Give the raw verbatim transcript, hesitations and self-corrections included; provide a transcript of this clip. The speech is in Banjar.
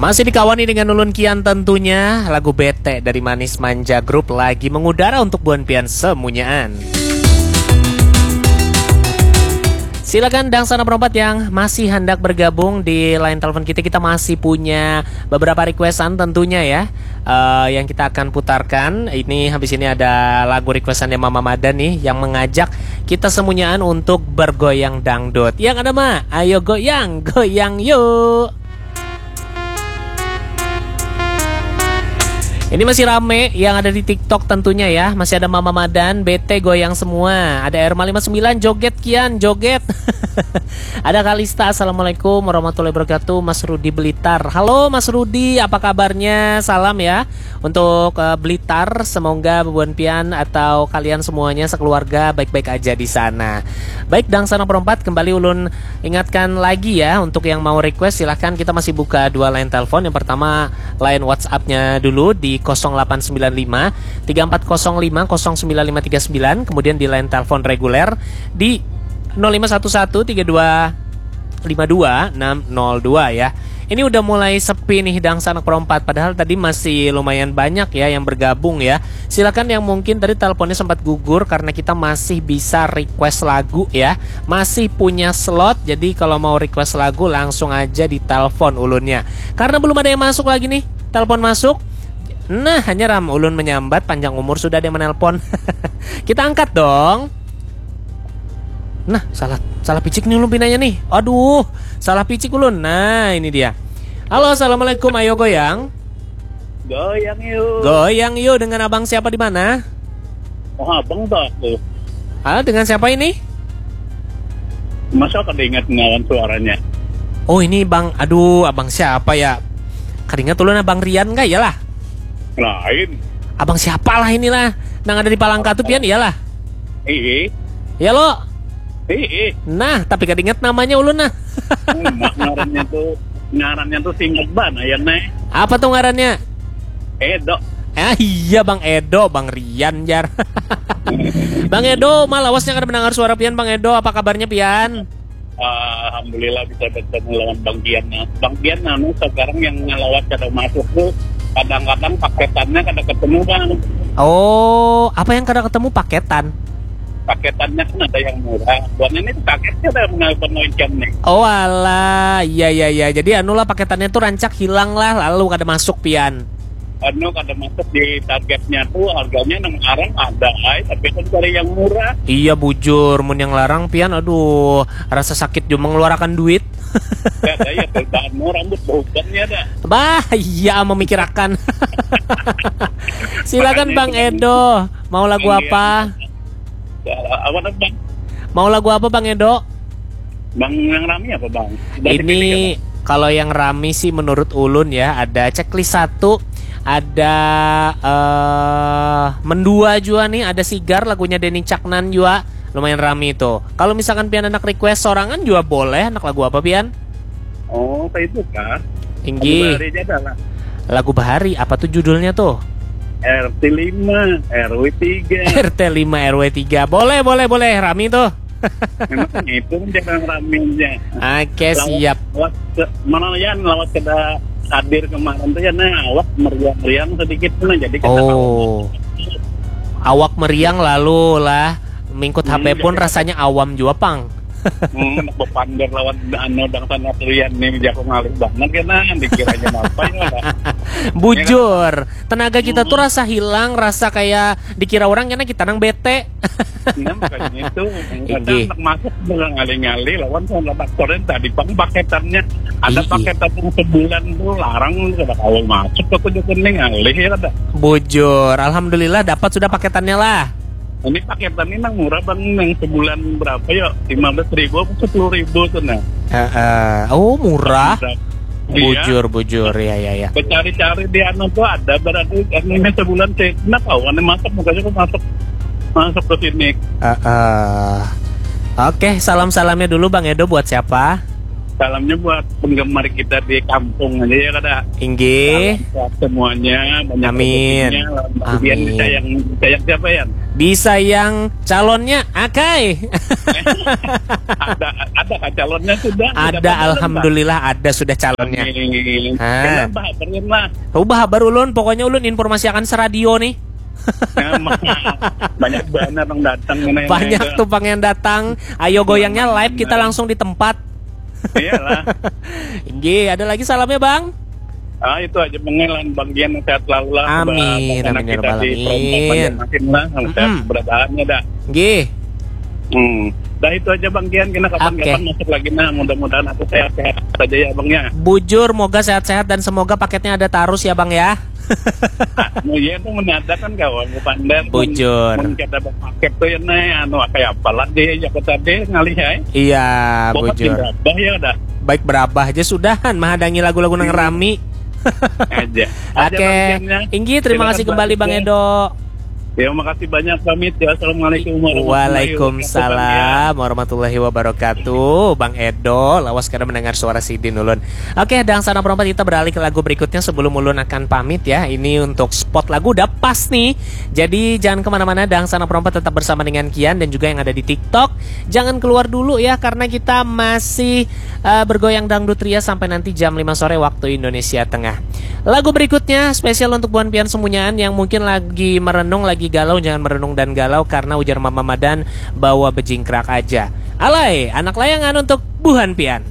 Masih dikawani dengan ulun Kian tentunya, lagu Bete dari Manis Manja Group lagi mengudara untuk buan pian semunyaan. Silakan dangsanak perompat yang masih hendak bergabung di line telepon kita, kita masih punya beberapa requestan tentunya ya. Eh, yang kita akan putarkan ini, habis ini ada lagu requestan dari Mama Madan nih yang mengajak kita semunyaan untuk bergoyang dangdut. Yang ada mah, ayo goyang, goyang yuk. Ini masih rame yang ada di TikTok tentunya ya. Masih ada Mama Madan, Bete goyang semua. Ada Erma lima sembilan, joget Kian, joget. Ada Kalista, assalamualaikum warahmatullahi wabarakatuh. Mas Rudi Blitar. Halo Mas Rudi, apa kabarnya? Salam ya untuk eh, Blitar. Semoga bubuhan pian atau kalian semuanya sekeluarga baik-baik aja di sana. Baik, dangsanak perompat, kembali ulun ingatkan lagi ya, untuk yang mau request silahkan, kita masih buka dua line telepon. Yang pertama line WhatsApp-nya dulu di kosong delapan sembilan lima tiga empat kosong lima kosong sembilan lima tiga sembilan, kemudian di line telepon reguler di nol lima satu satu tiga dua lima dua enam nol dua ya. Ini udah mulai sepi nih dangsanak perompat, padahal tadi masih lumayan banyak ya yang bergabung ya. Silakan yang mungkin tadi teleponnya sempat gugur karena kita masih bisa request lagu ya. Masih punya slot, jadi kalau mau request lagu langsung aja ditelepon ulunnya. Karena belum ada yang masuk lagi nih, telepon masuk. Nah, hanya ram ulun menyambat panjang umur sudah ada yang menelpon. Kita angkat dong. Nah, salah salah picik nih ulun pinanya nih. Aduh, salah picik ulun. Nah, ini dia. Halo, assalamualaikum. Ayo goyang. Goyang yuk. Goyang yuk dengan abang siapa di mana? Oh, abang tak aku. Ah, dengan siapa ini? Masa kada ingat ngawan suaranya? Oh, ini bang. Aduh, abang siapa ya? Kada ingat ulun, abang Rian kah? Iyalah. Lain. Abang siapa lah inilah? Nang ada di Palangka tuh pian iyalah. Ih. Ya lo. Ih. Nah, tapi kada ingat namanya ulun nah. Mak ngarannya tuh, ngarannya tuh singkat banget ya, Nek. Apa tuh ngarannya? Edo. Ah iya, Bang Edo, Bang Rian jar. Bang Edo, mah lawasnya kada mendengar suara pian, Bang Edo. Apa kabarnya pian? Alhamdulillah bisa bertemu lawan Bang Dian. Nah, Bang Dian anu sekarang yang ngelawat kada masuk tuh, kadang-kadang paketannya kada ketemu, Bang. Oh, apa yang kada ketemu, paketan? Paketannya kan ada yang murah. Buatnya ini paketnya ada yang menelpon macam nih. Oh alah, iya iya iya. Jadi anulah, paketannya tuh rancak hilang lah, lalu kada masuk pian. Anu kada masuk di targetnya tuh, harganya nang arang ada ai, tapi kan cari yang murah. Iya bujur, mun yang larang pian, aduh, rasa sakit jua mengeluarkan duit. Kada ya, perubahan mau rambut bauban ya dah. Bah, iya memikirakan. Silakan Bang Edo, mau lagu apa? Ya, apa tuh, Bang? Mau lagu apa Bang Edo? Bang, yang rami apa, Bang? Ini kalau yang rami sih menurut ulun ya, ada checklist satu, ada eh mendua juga nih, ada sigar lagunya Denny Caknan juga, lumayan rami itu. Kalau misalkan pian anak request sorangan juga boleh, anak lagu apa pian? Oh, kayak itu kah? Inggih. Lagu bahari aja dah lah. Lagu bahari apa tuh judulnya tuh? R T lima, R W tiga. R T lima, R W tiga. Boleh, boleh, boleh. Rami tuh. Memang itu jarang raminya. Oke, siap. Lawat ke, mana ya, lawat kada hadir kemarin tuh ya, nah, awak meriang-riang sedikit tuh, nah, jadi kita. Oh. Awak meriang lalu lah mingkut H P pun rasanya awam jua pang. Hmm, bepander lawan anu dangsanak lian nih, jago ngalih banget kena, dikiranya apa ya, dah. Bujur, tenaga kita tuh rasa hilang, rasa kayak dikira orang karena kita nang bete. Nah, makanya itu. Kadang anak masuk udah ngalih-ngalih lawan sama aktornya tadi, bang, paketannya. Ada paketan yang sebulan tuh larang, kada kawa masuk, aku juga nih ngalih ya, kada. Bujur, alhamdulillah dapat sudah paketannya lah. Ini paketan ini nang murah, bang, yang sebulan berapa ya? Lima belas ribu apa sepuluh ribu tuh, nah. Heeh. Oh, murah. Iya. Bujur, bujur, ya, ya, ya. Cari-cari di anu tuh ada berarti, anu, ini sebulan sih. Kenapa? Warna masuk, makanya aku masuk, masuk ke sini. Heeh. Oke, salam-salamnya dulu Bang Edo buat siapa? Salamnya buat penggemar kita di kampung aja ya, kada. Inggih. Salam sehat semuanya, banyak rezekinya, lawan Bang Dian. Amin. Disayang, disayang siapa, Yan? Disayang calonnya, akai. Ada ada kah calonnya sudah? Sudah Ada, pernah, Bang? alhamdulillah ada sudah calonnya. Amin. Ah. Kenapa? Berin lah. Ubah habar ulun, pokoknya ulun informasi akan seradio nih. Nah, banyak banget yang datang ini. Banyak tuh pang yang datang. Ayo goyangnya live, kita langsung di tempat. Iyalah. Inggih, ada lagi salamnya, Bang? Ah, itu aja, Bang, lan Bang Gian, sehat selalu lah. Amin, Semoga amin, ya kita rabbal di promote alamin. Banjarmasin lah, sama sehat Mm-mm. keberadaannya dah. Nggih. Hmm. Dah itu aja, Bang Gian, kita kapan-kapan Oke. masuk lagi, nah, mudah-mudahan aku sehat-sehat saja ya, Bang, ya. Bujur, moga sehat-sehat dan semoga paketnya ada terus ya, Bang, ya. Nah, iya tuh menadakan kawan, bukan dan Bujur. Mun kada berpaket tuh ya, nih, anu, kayak apa lah deh, ya, aku tadi ngalih ya. Iya, Bobot bujur. Berabah ya dah. Baik berabah aja sudahan, mahadangi lagu-lagu nang rami. Aja. Aja, Oke, Bang Gian, ya. Inggih, terima Silakan, kasih Bang, kembali, Bang ya. Edo. Ya, makasih banyak, pamit ya. Assalamualaikum warahmatullahi wabarakatuh, Bang, ya. Waalaikumsalam warahmatullahi wabarakatuh. Bang Edo, lawas kada mendengar suara sidin ulun. Oke, Dangsanak Perompat, kita beralih ke lagu berikutnya sebelum ulun akan pamit ya. Ini untuk spot lagu udah pas nih. Jadi jangan kemana-mana, Dangsanak Perompat, tetap bersama dengan Kian dan juga yang ada di TikTok. Jangan keluar dulu ya, karena kita masih eh, bergoyang dangdut ria sampai nanti jam lima sore waktu Indonesia Tengah. Lagu berikutnya spesial untuk buhan pian semunyaan yang mungkin lagi merenung, lagi galau, jangan merenung dan galau karena ujar Mama Madan bahwa bejingkrak aja. Alai, Anak Layangan untuk buhan pian.